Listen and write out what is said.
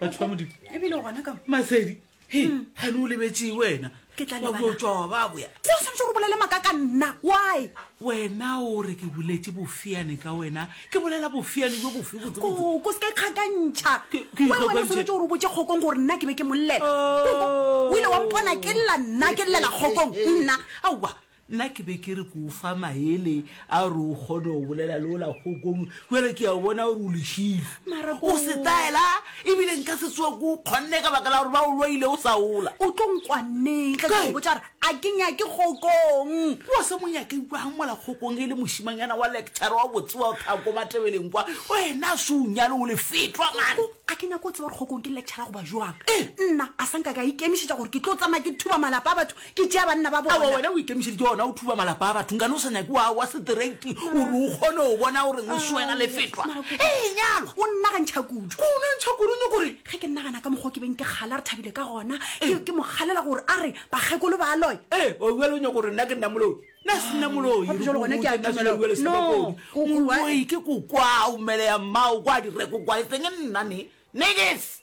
Batho ba Modimo. Ebile o gona ka mo. Masedi, he, gane o lebetše wena. Ke tla Wa lebala. tlo tšwa wa ba boya. Se o swanetše gore o bolele maaka ka nna. Why? Wena o re ke boletše bofiane ka wena. Ke bolela bofiane bjo bofe botsebotse? Koko, se ka ikgakantšha. Ke- ke Why wena o ikgakantšhe? swanetše gore o botše Kgokong gore nna ke be ke mo llela? Koko, o ile wa mpona ke lla nna, ke llela Kgokong, nna. Aowa, Nna ke be ke re ke o fa maele a gore o kgone go bolela le ola kgokong, bjale ke a bona gore o lešilo. Mara O setaela, ebile nka se tsoge ke o kgonne ka baka la gore ba o loile o sa ola. O tlo nkwa neng ge ke go Kae? botša gore a ke nyake kgokong? Wa se mo nyake bjang mola kgokong e le mošimanyana wa lecturer wa botse wa thako Matebeleng kwa? Wena se o nyale o lefetwa man. Koko, a ke nyake go tseba gore kgokong ke lecturer goba bjang. Eh. Nna a sa nka ka ikemišetša gore ke tlo tsamaya ke thuba malapa a batho Ke tšea banna ba Aowa, bona. wena o ikemišeditše gona o thuba malapa a batho. Nkane o sa nyake wa, wa setereiti gore o kgone go bona gore ngwešu wena le fetwa. Ee, nyalwa. O nnagantšha kudu. Ko o nagantšha kudu nyoko re. Ge ke nagana ka mokgwa o ke beng ke kgala re thabile ka gona, ke, ke mo kgalela gore a re bakgekolo ba a loya. Ee, o bjale o nyako gore nna ke nna moloi. Nna se nna moloi. Gape jwale gona ke a Nna se dumela. bjale se No, bakodi. o- o- Moloi ke kokwao, mmele ya mmao kwa direko kwa, e seng nna ne. Niggas!